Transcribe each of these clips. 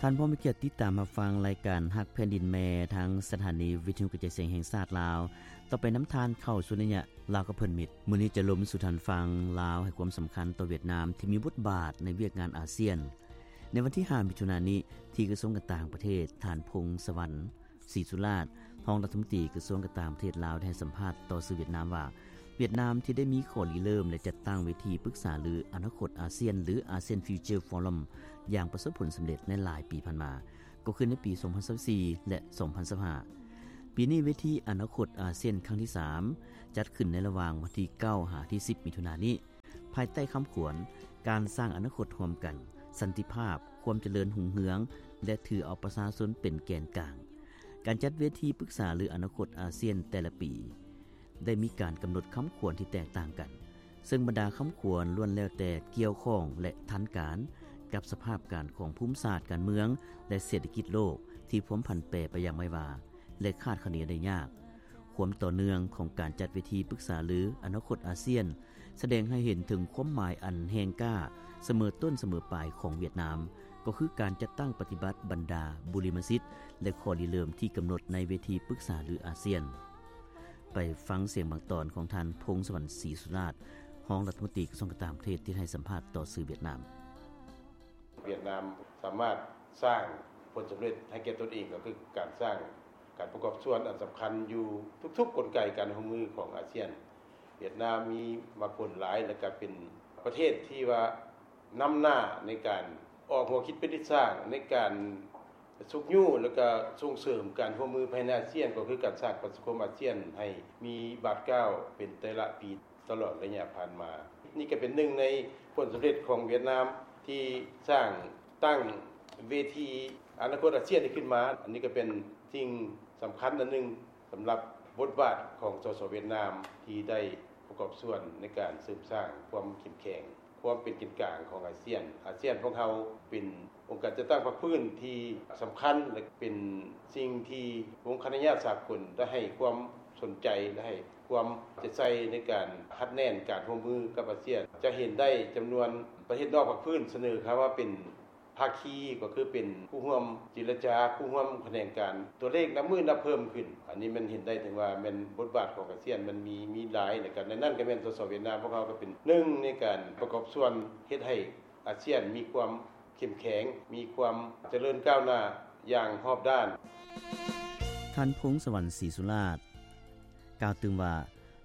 ທ່ານຜູ້ມີກຽດຕິດຕາມຮັບຟັງລາຍການຮັກແຜ່ນດິນແມ່ ທາງສະຖານີວິທະຍຸກະຈາຍສຽງແຫ່ງຊາດລາວ. ຕໍ່ໄປນຳທ່ານເຂົ້າສູ່ໄລຍະລາວກັບເພື່ອນມິດ. ມື້ນີ້ຈະລົມສູ່ທ່ານຟັງ ລາວໃຫ້ຄວາມສຳຄັນຕໍ່ຫວຽດນາມ ທີ່ມີບົດບາດໃນວຽກງານອາຊຽນ. ໃນວັນທີຫ້າ ມິຖຸນານີ້ ທີ່ກະຊວງການຕ່າງປະເທດ, ທ່ານ ພົງສະຫວັນ ສີສຸລາດ ຮອງລັດຖະມົນຕີກະຊວງການຕ່າງປະເທດລາວ ໄດ້ໃຫ້ສຳພາດຕໍ່ສື່ຫວຽດນາມວ່າ ຫວຽດນາມທີ່ໄດ້ມີຂໍ້ລິເລີ່ມ ແລະ ຈັດຕັ້ງເວທີປຶກສາລືອະນາຄົດອາຊຽນ ຫຼື ASEAN Future Forum ຢ່າງປະສົບຜົນສຳເລັດໃນຫຼາຍປີຜ່ານມາ ກໍຄືໃນປີສອງພັນຊາວສີ່ ແລະ ສອງພັນຊາວຫ້າ. ປີນີ້ເວທີອະນາຄົດອາຊຽນຄັ້ງທີສາມ ຈັດຂຶ້ນໃນລະຫວ່າງວັນທີເກົ້າ ຫາ ທີສິບ ມິຖຸນານີ້. ພາຍໃຕ້ຄຳຂວັນ ການສ້າງອະນາຄົດຮ່ວມກັນ, ສັນຕິພາບ, ຄວາມຈະເລີນຮຸ່ງເຮືອງ ແລະ ຖືເອົາປະຊາຊົນເປັນແກນກາງ. ການຈັດເວທີປຶກສາລືອະນາຄົດອາຊຽນແຕ່ລະປີ ໄດ້ມີການກຳນົດຄຳຂວັນທີ່ແຕກຕ່າງກັນ, ເຊິ່ງບັນດາຄຳຂວັນລ້ວນແລ້ວແຕ່ກ່ຽວຂ້ອງ ແລະ ທັນການກັບສະພາບການຂອງພູມສາດການເມືອງ ແລະ ເສດຖະກິດໂລກທີ່ພວມຜັນແປໄປຢ່າງໄວວາ ແລະ ຄາດຄະເນໄດ້ຍາກ. ຄວາມຕໍ່ເນື່ອງຂອງການຈັດເວທີປຶກສາລືອະນາຄົດອາຊຽນ ສະແດງໃຫ້ເຫັນເຖິງຄວາມໝາຍອັນແຮງກ້າສະເໝີຕົ້ນສະເໝີປາຍຂອງຫວຽດນາມ, ກໍຄືການຈັດຕັ້ງປະຕິບັດບັນດາບຸລິມະສິດ ແລະ ຂໍ້ລິເລີ່ມທີ່ກຳນົດໃນເວທີປຶກສາລືອາຊຽນ. ໄປຟັງສຽງບາງຕອນຂອງທ່ານ ພົງສະຫວັນ ສີສຸລາດ ຮອງລັດຖະມົນຕີກະຊວງການຕ່າງປະເທດ ທີ່ໃຫ້ສຳພາດຕໍ່ສື່ຫວຽດນາມ. ຫວຽດນາມສາມາດສ້າງຜົນສຳເລັດໃຫ້ແກ່ຕົນເອງ ກໍຄືການສ້າງການປະກອບສ່ວນອັນສຳຄັນຢູ່ທຸກໆກົນໄກການຮ່ວມມືຂອງອາຊຽນ. ຫວຽດນາມມີໝາກຜົນຫຼາຍ ແລະ ກໍເປັນປະເທດທີ່ວ່ານຳໜ້າໃນການອອກຫົວຄິດເປັນທິດສ້າງ ໃນການຊຸກຍູ້ ແລະ ກໍສົ່ງເສີມການຮ່ວມມືພາຍໃນອາຊຽນ ກໍຄືການສ້າງປະຊາຄົມອາຊຽນໃຫ້ມີບາດກ້າວເປັນແຕ່ລະປີ ຕະຫຼອດໄລຍະຜ່ານມາ. ນີ້ກໍເປັນໜຶ່ງໃນຜົນສຳເລັດຂອງຫວຽດນາມທີ່ສ້າງຕັ້ງເວທີອະນາຄົດອາຊຽນນີ້ຂຶ້ນມາ. ອັນນີ້ກໍເປັນສິ່ງສຳຄັນອັນໜຶ່ງສຳລັບບົດບາດຂອງ ສສ ຫວຽດນາມ ທີ່ໄດ້ປະກອບສ່ວນໃນການເສີມສ້າງຄວາມເຂັ້ມແຂງ ຄວາມເປັນແກນກາງຂອງອາຊຽນ. ອາຊຽນຂອງເຮົາເປັນອົງການຈັດຕັ້ງພາກພື້ນທີ່ສຳຄັນ ແລະ ເປັນສິ່ງທີ່ອົງຄະນະຍາດສາກົນໄດ້ໃຫ້ຄວາມສົນໃຈ ແລະ ໃຫ້ຄວາມເອົາໃຈໃສ່ໃນການຮັດແໜ້ນການຮ່ວມມືກັບອາຊຽນ. ຈະເຫັນໄດ້ຈຳນວນປະເທດນອກພາກພື້ນສະເໜີເຂົ້າມາເປັນພາຄີ ກໍຄືເປັນຄູ່ຮ່ວມເຈລະຈາ, ຄູ່ຮ່ວມຂະແໜງການ. ຕົວເລກນັບມື້ນັບເພີ່ມຂຶ້ນ. ອັນນີ້ແມ່ນເຫັນໄດ້ເຖິງວ່າແມ່ນບົດບາດຂອງອາຊຽນມັນມີ, ມີຫຼາຍ ແລະ ກໍໃນນັ້ນກໍແມ່ນ ສສ ຫວຽດນາມ ພວກເຮົາກໍເປັນໜຶ່ງໃນການປະກອບສ່ວນເຮັດໃຫ້ ອາຊຽນມີຄວາມເຂັ້ມແຂງ, ມີຄວາມຈະເລີນກ້າວໜ້າຢ່າງຮອບດ້ານ. ທ່ານ ພົງສະຫວັນ ສີສຸລາດ ກ່າວຕື່ມວ່າ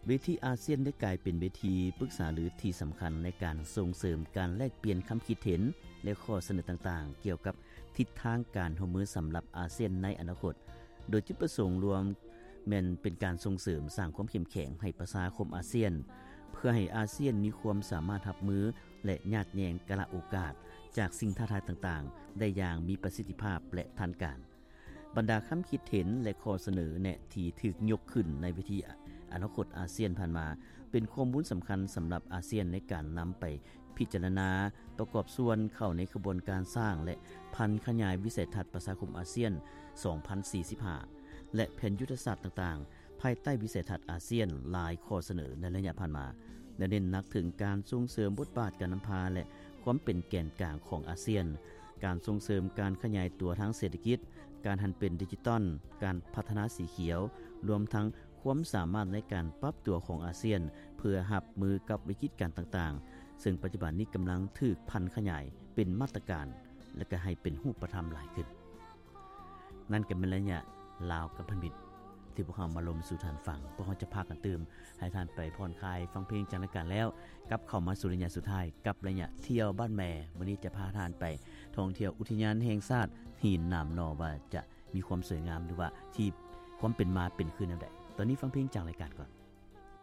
ເວທີອາຊຽນໄດ້ກາຍເປັນເວທີປຶກສາລືທີ່ສຳຄັນໃນການສົ່ງເສີມການແລກປ່ຽນຄຳຄິດເຫັນ ແລະ ຂໍ້ສະເໜີຕ່າງໆ ກ່ຽວກັບທິດທາງການຮ່ວມມືສຳລັບອາຊຽນໃນອະນາຄົດ. ໂດຍຈຸດປະສົງລວມແມ່ນເປັນການສົ່ງເສີມສ້າງຄວາມເຂັ້ມແຂງໃຫ້ປະຊາຄົມອາຊຽນ ເພື່ອໃຫ້ອາຊຽນມີຄວາມສາມາດຮັບມື ແລະ ຍາດແຍ່ງກາລະໂອກາດຈາກສິ່ງທ້າທາຍຕ່າງໆ ໄດ້ຢ່າງມີປະສິດທິພາບ ແລະ ທັນການ. ບັນດາຄຳຄິດເຫັນ ແລະ ຂໍ້ສະເໜີແນະທີ່ຖືກຍົກຂຶ້ນໃນເວທີອະນາຄົດອາຊຽນຜ່ານມາ ເປັນຂໍ້ມູນສຳຄັນສຳລັບອາຊຽນໃນການນຳໄປ ພິຈາລະນາປະກອບສ່ວນເຂົ້າໃນຂະບວນການສ້າງ ແລະ ຜັນຂະຫຍາຍວິໄສທັດປະຊາຄົມອາຊຽນສອງພັນສີ່ສິບຫ້າ ແລະ ແຜນຍຸດທະສາດຕ່າງໆ ພາຍໃຕ້ວິໄສທັດອາຊຽນຫຼາຍຂໍ້ສະເໜີໃນໄລຍະຜ່ານມາ ແລະ ເນັ້ນໜັກເຖິງການສົ່ງເສີມບົດບາດການນຳພາ ແລະ ຄວາມເປັນແກນກາງຂອງອາຊຽນ, ການສົ່ງເສີມການຂະຫຍາຍຕົວທາງເສດຖະກິດ, ການຫັນເປັນດິຈິຕອນ, ການພັດທະນາສີຂຽວ, ລວມທັງ ຄວາມສາມາດໃນການປັບຕົວຂອງອາຊຽນ ເພື່ອຮັບມືກັບວິກິດການຕ່າງໆ ເຊິ່ງປັດຈຸບັນນີ້ກຳລັງຖືກຜັນຂະຫຍາຍເປັນມາດຕະການ ແລະ ກໍໃຫ້ເປັນຮູບປະທຳຫຼາຍຂຶ້ນ. ນັ້ນກໍແມ່ນໄລຍະລາວກັບພັນທະມິດ ທີ່ພວກເຮົາມາລົມສູ່ທ່ານຟັງ. ພວກເຮົາຈະພາກັນຕື່ມ ໃຫ້ທ່ານໄປຜ່ອນຄາຍຟັງເພງຈາກລາຍການແລ້ວ ກັບເຂົ້າມາສູ່ໄລຍະສຸດທ້າຍ ກັບໄລຍະທ່ຽວບ້ານແມ່. ມື້ນີ້ຈະພາທ່ານໄປທ່ອງທ່ຽວອຸທິຍານແຫ່ງຊາດຫີນໜາມໜໍ່ ວ່າຈະ ມີຄວາມສວຍງາມ ຫຼືວ່າທີ່ຄວາມເປັນມາເປັນຄືແນວໃດ. ຕອນນີ້ຟັງເພງຈາກລາຍການກ່ອນ.